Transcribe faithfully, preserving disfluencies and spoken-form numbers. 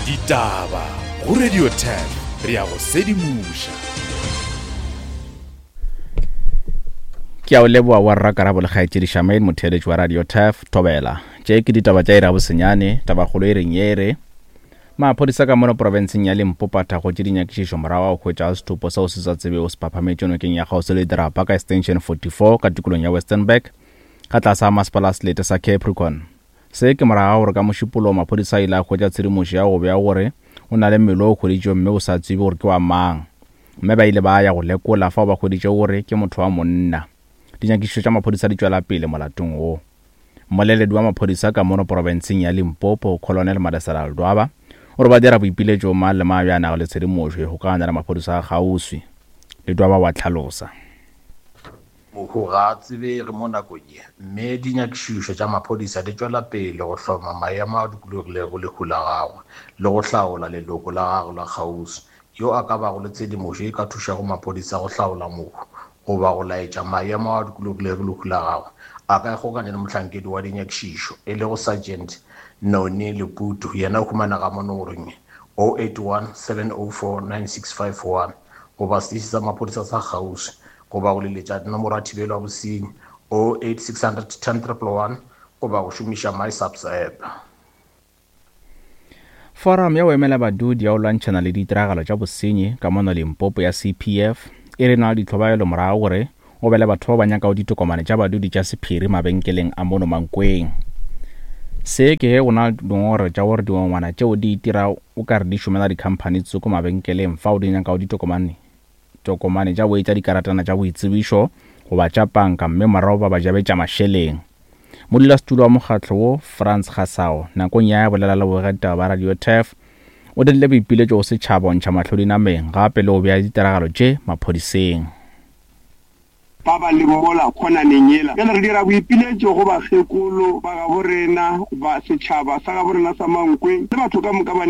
Ditaba go Radio ten re ya go sedimoša. Ke a o leboa wa rra Karabo le kgaetšedi Shamaine motheeletši wa Radio Turf Thobela. Tše ke ditaba tša iri ya bosenyane, tabakgolo e reng ye re maphodisa ka mono profenseng ya Limpopo a thakgotše dinyakišišo morago ga go hwetša setopo seo se sa tsebego se phaphametše nokeng ya kgauswi le dirapa ka Extension forty-four ka tikolong ya Westernburg ka tlase ga masepala wa selete sa Capricorn. Se ke morago ga gore ka Mošupologo maphodisa a ile a hwetša tshedimošo ya go bea gore o na le mmele o hweditšwego mme o sa tsebe gore ke wa mang, mme ba ile ba ya go lekola fao ba hweditše gore ke motho wa monna. Dinyakišišo tša maphodisa di tšwela pele molatong wo. Mmoleledi wa maphodisa ka mono profenseng ya Limpopo, Colonel Madesela Ledwaba, o re ba dira boipiletšo mang le mang yo a nago le tshedimošo e kgokaganya le maphodisa a kgauswi. Ledwaba wa tlhalosa. Mohu ga a tsebege mo nakong ye, mme dinyakišišo tša maphodisa di tšwela pele go hloma maemo a dikologilego lehu la gagwe le go hlaola leloko la gagwe la kgauswi. Yo a ka bago le tshedimošo e ka thušago maphodisa go hlaola mohu goba go laetša maemo a dikologilego lehu la gagwe, a ka ikgokanya le mohlankedi wa dinyakišišo e lego Sergeant Noni Leputu, yena o humanega mo nomorong ye oh eight one, seven oh four, nine six five one goba seteiši sa maphodisa sa kgauswi, goba go leletša nomoro ya thibelo ya bosenyi oh eight six hundred ten triple one goba go šomiša MySAPS app. Forum ya go emela badudi ya go lwantšhana le ditiragalo tša bosenyi ka mono Limpopo ya C P F e re na le ditlhobaelo morago gore o be le batho ba ba nyakago ditokomane tša badudi tša sephiri mabenkeleng a mono Mankweng. Se ke ge go na le dingongorego tša gore dingongwana tšeo di itira o ka re di šomela dikhamphani tsoko mabenkeleng fao di nyakago ditokomane tokomane tša boetša dikaratana tša boitsebišo goba tša panka mme morago ba ba jabetša mašeleng. Modulasetulo wa mokgatlo wo Frans Gasao nakong ya bolela le bogaditaba ba Radio Turf o dirile boipiletšo go setšhaba go ntšha mahlo dinameng gape le go bea ditiragalo tše maphodiseng. Ba ba leng mola khonaneng yela. Bjale re dira boipiletšo go bakgekolo ba gabo rena, ba setšhaba sa gabo rena sa Mankweng le batho ka moka ba